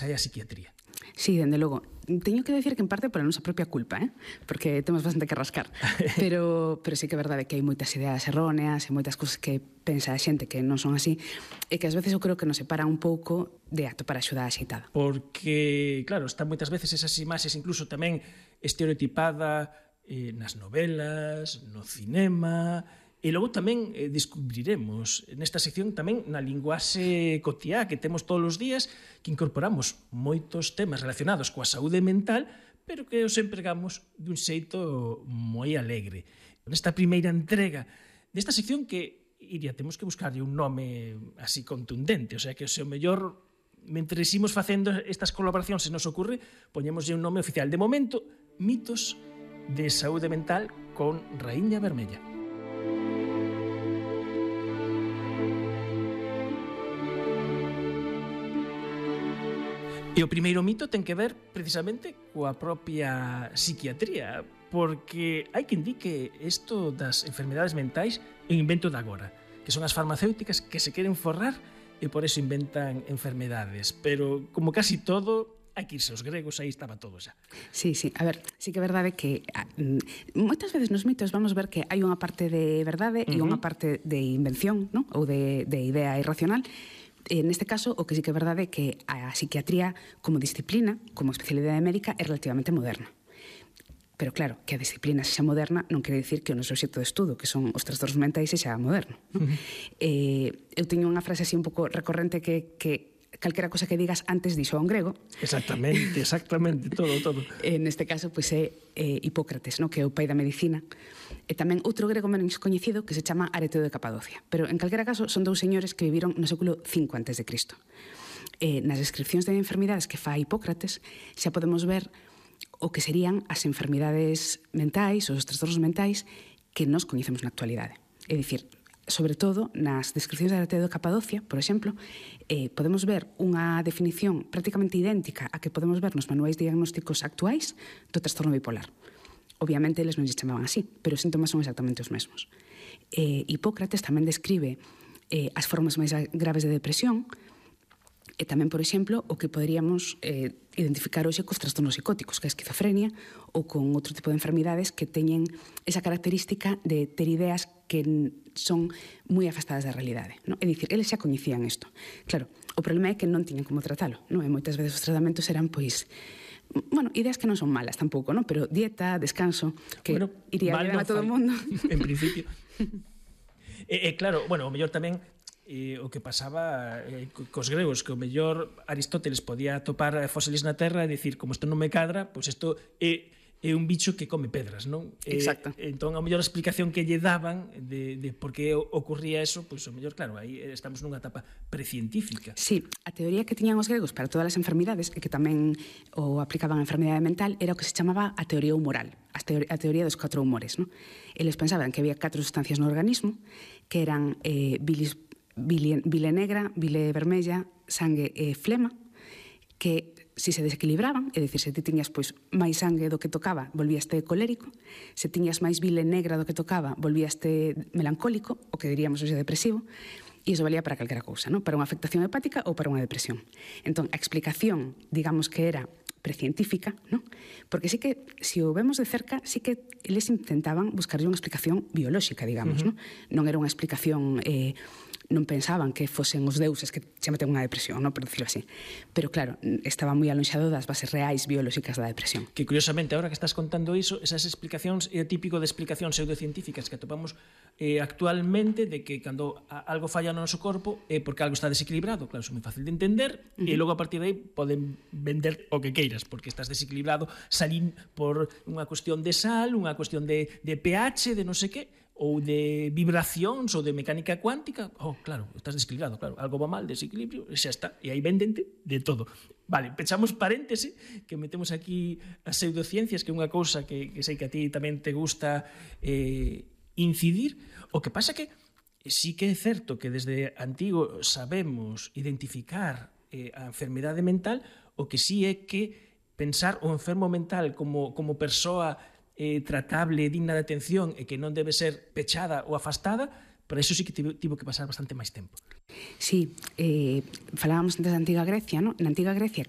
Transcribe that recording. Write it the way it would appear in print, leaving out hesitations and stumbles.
hai a psiquiatría. Sí, dende logo. Teño que decir que en parte pola nosa propia culpa, porque temos bastante que rascar. Pero sí que é verdade que hai moitas ideas erróneas e moitas cousas que pensa a xente que non son así e que ás veces eu creo que nos separa un pouco de atopar a axuda axeitada. Porque, claro, están moitas veces esas imaxes incluso tamén estereotipada nas novelas, no cinema. E logo tamén descubriremos nesta sección tamén na linguaxe cotiá que temos todos os días, que incorporamos moitos temas relacionados coa saúde mental, pero que os empregamos dun xeito moi alegre. Nesta primeira entrega desta sección que, Iria, temos que buscarlle un nome así contundente, o sea que o mellor, mentre imos facendo estas colaboracións, se nos ocurre, poñémoslle un nome oficial. De momento, mitos de saúde mental con Raíña Vermella. E o primeiro mito ten que ver precisamente coa propia psiquiatría, porque hai quen di que isto das enfermedades mentais é un invento de agora, que son as farmacéuticas que se queren forrar e por eso inventan enfermedades, pero como casi todo hai que irse aos gregos, aí estaba todo xa. Sí, a ver, sí que é verdade que moitas veces nos mitos vamos ver que hai unha parte de verdade e unha parte de invención, ¿no? Ou de idea irracional. Neste caso, o que sí que é verdade é que a psiquiatría como disciplina, como especialidade médica, é relativamente moderna. Pero claro, que a disciplina sexa moderna non quere dicir que o noso obxecto de estudo, que son os trastornos mentais, sexa moderno. ¿No? Eu teño unha frase así un pouco recorrente que calquera cosa que digas antes dixo a un grego. Exactamente, todo. Neste caso, pois é Hipócrates, no? Que é o pai da medicina. E tamén outro grego menos coñecido que se chama Areteo de Capadocia. Pero, en calquera caso, son dous señores que viviron no século V a.C. Nas descripcións de enfermidades que fai Hipócrates xa podemos ver o que serían as enfermidades mentais, os trastornos mentais que nos coñecemos na actualidade. É dicir, sobre todo nas descripcións de Areteo de Capadocia, por exemplo, podemos ver unha definición prácticamente idéntica a que podemos ver nos manuais diagnósticos actuais do trastorno bipolar. Obviamente, eles non lle chamaban así, pero os síntomas son exactamente os mesmos. Hipócrates tamén describe as formas máis graves de depresión e tamén, por exemplo, o que poderíamos identificar hoxe cos trastornos psicóticos, que é a esquizofrenia, ou con outro tipo de enfermidades que teñen esa característica de ter ideas que son moi afastadas da realidade. ¿No? É dicir, eles xa coñecían isto. Claro, o problema é que non tiñan como tratalo. ¿No? E moitas veces os tratamentos eran, pois, ideas que non son malas tampouco, ¿no? Pero dieta, descanso, que iría ben a todo o mundo. En principio. Claro, o mellor tamén o que pasaba cos gregos, que o mellor Aristóteles podía atopar fósiles na terra e dicir, como isto non me cadra, pois isto é un bicho que come pedras, non? Exacto. Entón, a mellor a explicación que lle daban de por que ocurría eso, pois o mellor, claro, aí estamos nunha etapa precientífica. Sí, a teoría que tiñan os gregos para todas as enfermidades e que tamén o aplicaban a enfermidade mental era o que se chamaba a teoría humoral, a teoría dos 4 humores, non? Eles pensaban que había 4 sustancias no organismo que eran bile negra, bile vermella, sangue e flema, que se desequilibraban, é dicir, se ti tiñas pois máis sangue do que tocaba, volvíaste colérico, se tiñas máis bile negra do que tocaba, volvíaste melancólico, o que diríamos hoxe depresivo, e iso valía para calquera cousa, ¿no? Para unha afectación hepática ou para unha depresión. Entón, a explicación, digamos que era precientífica, ¿no? Porque sí que, se o vemos de cerca, sí que eles intentaban buscarlle unha explicación biolóxica, digamos, ¿no? Non era unha explicación non pensaban que fosen os deuses que se meten unha depresión, non, por dicirlo así. Pero claro, estaba moi alonxado das bases reais biolóxicas da depresión. Que curiosamente, agora que estás contando iso, esas explicacións é típico de explicacións pseudocientíficas que atopamos actualmente, de que cando algo falla no noso corpo é porque algo está desequilibrado. Claro, é moi fácil de entender, e logo a partir de aí poden vender o que queiras, porque estás desequilibrado salín por unha cuestión de sal, unha cuestión de pH, de non sei que, ou de vibracións ou de mecánica cuántica. Claro, estás desequilibrado, claro, algo va mal, desequilibrio, e xa está, e aí vendente de todo. Vale, pechamos paréntese, que metemos aquí as pseudociencias, que é unha cousa que sei que a ti tamén te gusta incidir. O que pasa que sí que é certo que desde antigo sabemos identificar a enfermidade mental, o que sí é que pensar o enfermo mental como persoa tratable, digna de atención e que non debe ser pechada ou afastada, Para iso sí que tivo que pasar bastante máis tempo. Sí, falábamos antes da Antiga Grecia, ¿no? Na Antiga Grecia